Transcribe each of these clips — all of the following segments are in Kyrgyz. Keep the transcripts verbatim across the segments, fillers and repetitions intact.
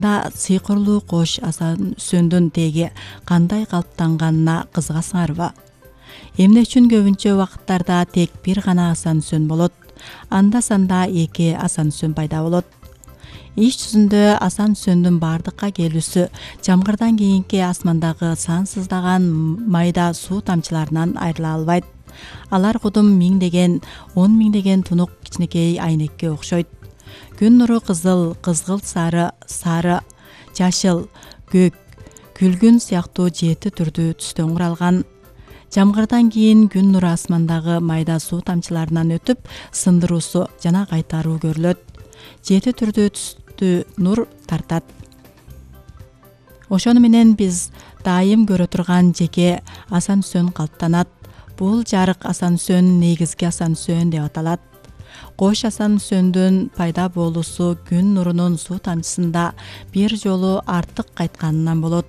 да сыйкырлуу кош Асан Сөндүн теги кандай калыптанганына кызыгасыңарбы? Эмне үчүн көбүнчө убакыттарда тек бир гана Асан Сөн болот, анда санда эки Асан Сөн пайда болот? Иш жүзүндө Асан Сөндүн бардыкка келүүсү жамгырдан кийинки асмандагы сансыздаган майда суу тамчыларынан айрыла албайт. Алар кудум миңдеген, он миңдеген тунук кичинекей айнекке окшойт. Күн нуру кызыл, кызгылт сары, сары, жашыл, көк, күлгүн сыяктуу жети түрдүү түстөн куралган. Жамгырдан кийин күн нуру асмандагы майда суу тамчыларынан өтүп, сындыруусу жана кайтаруу көрүлөт. Жети түрдүү түстү нур тартат. Ошону менен биз дайым көрө турган жеке Асан Сөн калыптанат. Бул жарык Асан Сөн негизги Асан Сөн деп аталат. Кош Асан Сөндүн пайда болуусу күн нурунун суу тамчысында бир жолу артык кайтканынан болот.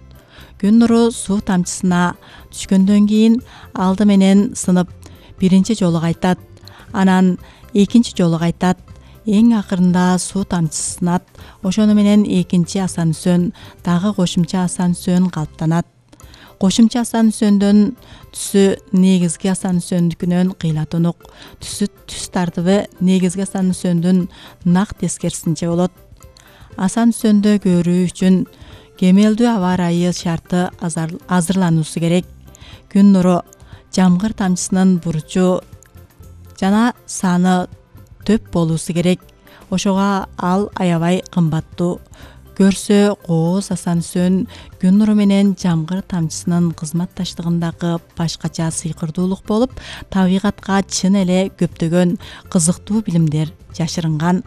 Күн нуру суу тамчысына түшкөндөн кийин алды менен сынып биринчи жолу кайтат, анан экинчи жолу кайтат, эң акырында суу тамчысы сынат. Ошону менен экинчи Асан Сөн, дагы кошумча Асан Сөн калыптанат. Кошумча Асан Сөндүн түсү негизги Асан Сөндүкүнөн кыйла-тунук, түсү түс тартыбы негизги Асан Сөндүн нак тескерисинче болот. Асан Сөндө көрүү үчүн кемелдүү аба ырайы шарты азырлануусу керек. Күн нуру, жамгыр тамчысынын бурчу жана саны төп болуусу керек. Ошого ал аябай кымбаттуу. Көрсө кооз Асан Сөн күн нуру менен жамгыр тамчысынын кызматташтыгындагы башкача сыйкырдуулук болуп, табигатка чын эле көптөгөн кызыктуу билимдер жашырынган.